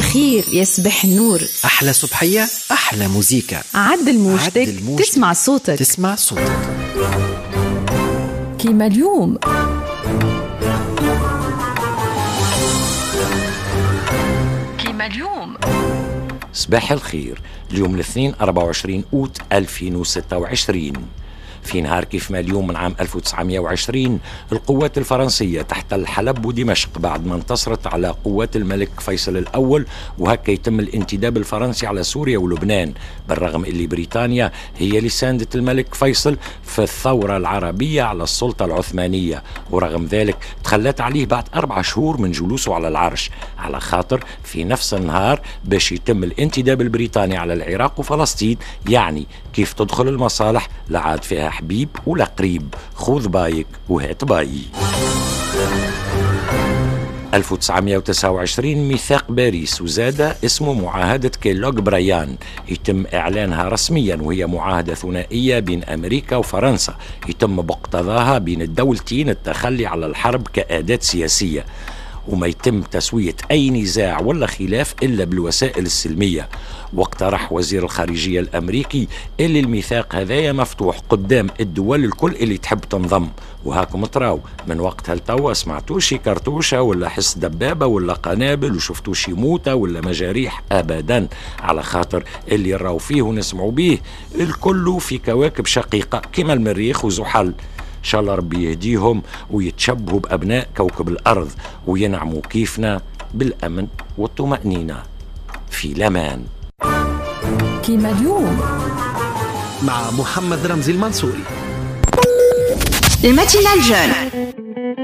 الخير يا صباح النور. أحلى صبحية، أحلى موزيكا. عدل موجتك تسمع صوتك. تسمع صوتك. كيما اليوم. كيما اليوم. صباح الخير. اليوم الاثنين 24 أوت 2026. في نهار كيف ما اليوم من عام 1920 القوات الفرنسية تحتل حلب ودمشق بعد ما انتصرت على قوات الملك فيصل الأول، وهكا يتم الانتداب الفرنسي على سوريا ولبنان، بالرغم اللي بريطانيا هي اللي ساندت الملك فيصل في الثورة العربية على السلطة العثمانية، ورغم ذلك تخلت عليه بعد 4 شهور من جلوسه على العرش، على خاطر في نفس النهار باش يتم الانتداب البريطاني على العراق وفلسطين. يعني كيف تدخل المصالح لا عاد فيها حبيب ولا قريب، خذ بايك وهات باي. 1929 ميثاق باريس، وزاد اسمه معاهدة كيلوغ برايان، يتم إعلانها رسميا، وهي معاهدة ثنائية بين أمريكا وفرنسا يتم باقتضاها بين الدولتين التخلي على الحرب كأداة سياسية، وما يتم تسوية أي نزاع ولا خلاف إلا بالوسائل السلمية. واقترح وزير الخارجية الأمريكي اللي الميثاق هذايا مفتوح قدام الدول الكل اللي تحب تنضم، وهاكم تراو من وقتها لتوا سمعتوشي كرتوشة ولا حس دبابة ولا قنابل وشفتوشي موتة ولا مجاريح أبدا، على خاطر اللي راو فيه ونسمعوا بيه الكل في كواكب شقيقة كما المريخ وزحل. إن شاء الله ربي يهديهم ويتشبهوا بأبناء كوكب الأرض وينعموا كيفنا بالأمن والطمأنينة في الأمان. كيما اليوم مع محمد رمزي المنصوري. ال matinale jeune.